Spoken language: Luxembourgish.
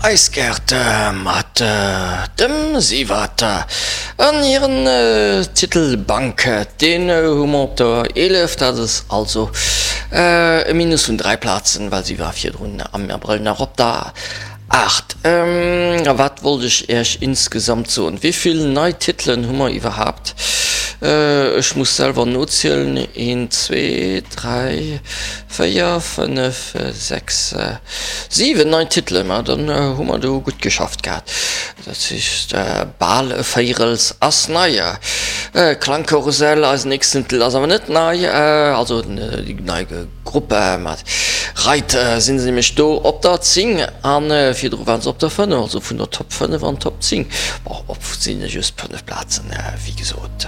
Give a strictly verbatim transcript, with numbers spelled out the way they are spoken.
Eis Gäert mat dem Siwert an hiren Titel Bank, deen hu mer op der eelef. Dat ass also e Minus vun dräi Plazen, well si war virdrun am Abrëll nach op der aacht. A wat wollt ech Iech insgesamt soen? Wéi vill nei Titelen hu mer iwwerhaapt? Ech muss selwer nozielen, een, zwee, dräi, véier, fënnef, sechs, siwen nei Titelen. Ma dann hu mer do gutt geschafft gehat. Dat heescht, bal e Véirels ass nei. Klangkarussell, eisen nächsten Titel ass awer net nei, also déi nei Grupp mat Reit si se nämlech do op der zéng a virdru waren se op der fënnef, also vun der Top fënnef an d'Top zéng. Bon, op sinn just fënnef Plazen, wéi gesot.